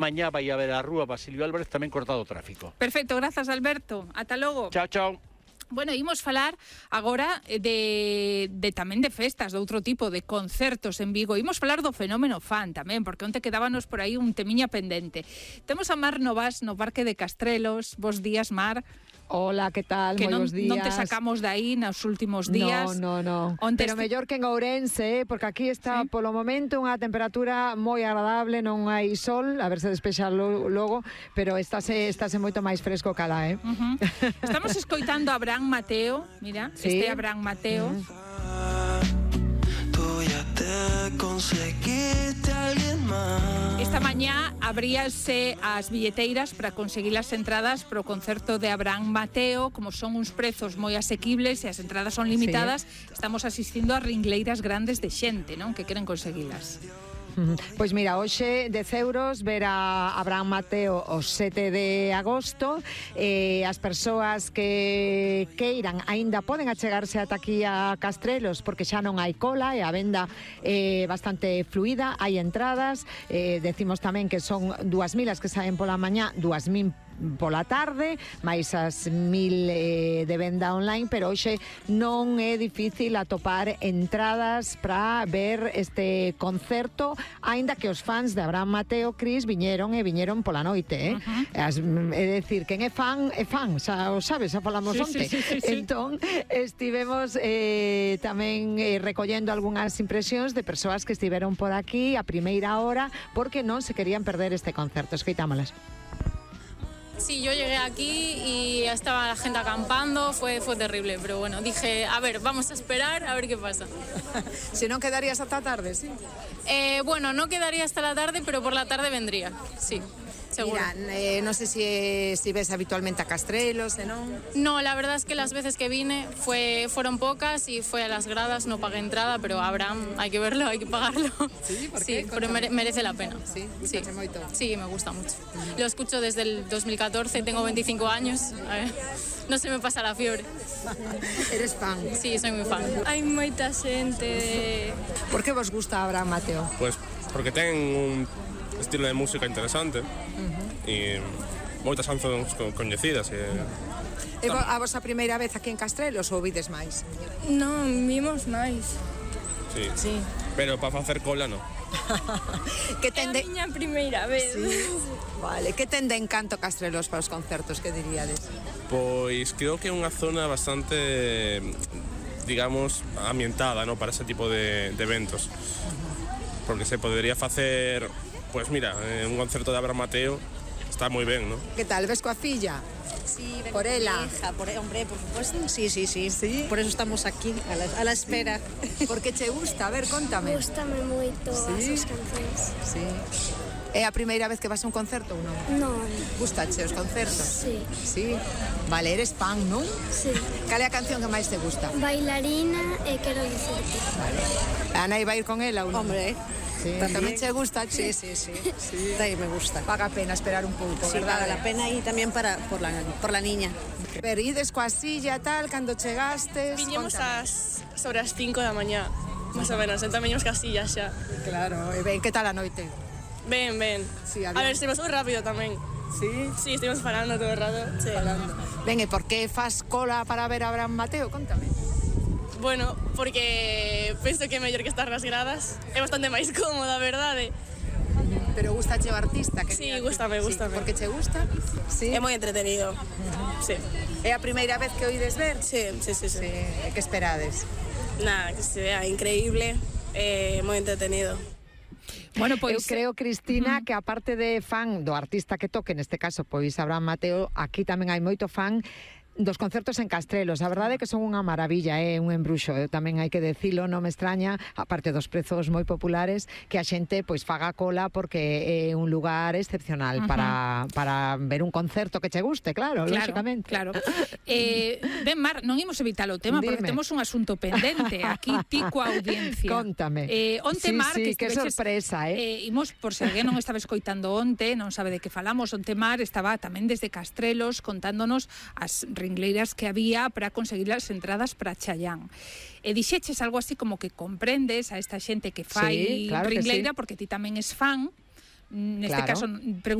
Mañá vai haber a rúa Basilio Álvarez tamén cortado o tráfico. Perfecto, grazas Alberto. Ata logo. Chao, chao. Bueno, imos falar agora de tamén de festas, de outro tipo, de concertos en Vigo. Imos falar do fenómeno fan tamén, porque onte quedábanos por aí un temiña pendente. Temos a Mar Novas no Parque de Castrelos. Bos días, Mar. Hola, que tal? Que Moi bos días. non te sacamos de aí nos últimos días. No. Onte Pero mellor que en Ourense, porque aquí está polo momento unha temperatura moi agradable, non hai sol, a ver se despexa logo, pero estáse moito máis fresco que alá, Estamos escoitando a Abraham Mateo, mira, Sí. este Abraham Mateo. Esta mañá abríase as billeteiras para conseguir as entradas para o concerto de Abraham Mateo. Como son uns prezos moi asequibles e as entradas son limitadas, estamos asistindo a ringleiras grandes de xente, non? Que queren conseguilas. Pois mira, hoxe 10 euros ver a Abraham Mateo o 7 de agosto. As persoas que queiran aínda poden achegarse ata aquí a Castrelos, porque xa non hai cola e a venda é bastante fluida, hai entradas. Decimos tamén que son 2.000 as que saen pola mañá, 2.000 pola tarde, máis as 1.000 de venda online, pero hoxe non é difícil atopar entradas para ver este concerto, aínda que os fans de Abraham Mateo, Cris, viñeron pola noite, é dicir, quen é fan, xa o sabes, xa falamos onte. Sí. Entón, estivemos tamén recollendo algunhas impresións de persoas que estiveron por aquí a primeira hora porque non se querían perder este concerto. Escoitámolas. Sí, yo llegué aquí y estaba la gente acampando, fue terrible, pero bueno, dije, a ver, vamos a esperar a ver qué pasa. Si no quedarías hasta tarde, sí. Bueno, no quedaría hasta la tarde, pero por la tarde vendría, sí. Seguro. Mira, no sé si ves habitualmente a Castrelos, ¿no? No, la verdad es que las veces que vine fueron pocas y fue a las gradas, no pagué entrada, pero Abraham hay que verlo, hay que pagarlo. Sí, ¿por qué? Sí, pero merece la pena. Sí, sí. Moito. Sí, me gusta mucho. Lo escucho desde el 2014, tengo 25 años, a ver, no se me pasa la fiebre. Eres fan? Sí, soy muy fan. Hai moita xente. Por que vos gusta Abraham Mateo? Pues porque ten un estilo de música interesante e moitas cancións coñecidas. É a vosa primeira vez aquí en Castrelos ou vides máis? Non, vimos máis. Sí. Pero para facer cola non. Que ten de... miña primeira vez. Sí. Vale, que ten de encanto Castrelos para os concertos, que diríades? Pois creo que é unha zona bastante, digamos, ambientada, ¿no? Para ese tipo de eventos. Porque se podería facer, pues mira, un concerto de Abraham Mateo está moi ben, ¿no? Que tal, ves coa filla? Sí, por ela. Hija, hombre, por supuesto. Sí. ¿Sí? Por eso estamos aquí, a la espera. Porque che gusta? A ver, contame. Gústame moito as súas cancións. Sí. É a primeira vez que vas a un concerto ou non? Non. Gustache os concertos? Sí. Sí? Vale, eres fan, non? Sí. Cal é a canción que máis te gusta? Bailarina e quero dicirte. Vale. A Nai vai ir con ela ou non? Hombre, sí. Tamén che gusta, che? sí. También me gusta. Paga pena esperar un pouco, Sí, verdade? paga la pena y también por la niña. Pero ides coa silla, tal, cando chegastes... Viñemos Contame. sobre as 5 da mañá, máis ou menos, entón viñemos casillas xa. Claro, e ben, que tal a noite? Ben. Sí, A ver, se pasou rápido tamén. Sí? Sí, estivemos parando todo o rato. Sí. Ben, e por que faz cola para ver a Abraham Mateo? Contame. Bueno, porque penso que é mellor que estar nas gradas. É bastante máis cómodo, a verdade. Pero gustache o artista? Que Sí, gústame. Sí, porque che gusta? Sí. É moi entretenido. Sí. É a primeira vez que oides ver? Sí. E que esperades? Nada, que se vea increíble, moi entretenido. Bueno, Eu creo, Cristina, que aparte de fan do artista que toque, neste caso, pois Abraham Mateo, aquí tamén hai moito fan dos concertos en Castrelos. A verdade é que son unha maravilla, un embruxo. Eu tamén hai que decilo, non me extraña, aparte dos prezos moi populares, que a xente pois faga cola porque é un lugar excepcional para ver un concerto que che guste, claro, lógicamente. Claro. Ben, Mar, non imos evitar o tema porque temos un asunto pendente aquí, ti coa audiencia. Contame. Onte, Mar, que sorpresa, imos, por se alguén non estaba escoitando onte, non sabe de que falamos, onte Mar estaba tamén desde Castrelos contándonos as ringleiras que había para conseguir as entradas para Chayán. E dixeches algo así como que comprendes a esta xente que fai ringleira porque ti tamén es fan, Neste Claro. caso,